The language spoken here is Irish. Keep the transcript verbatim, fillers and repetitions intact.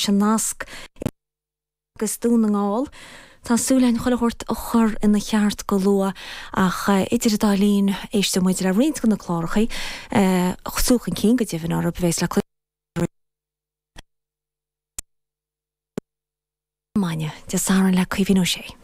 An nasc agus Dún na nGall. Tá súil againn chuile shórt a chur ina cheart go luath ach idir an dá linn éisteoidh muid le roinnt de na cláracha Súil Chun Cinn go deimhin orthu a bheas le cloisteáil maidin Dé Sathairn le Caoimhín Ó Sé.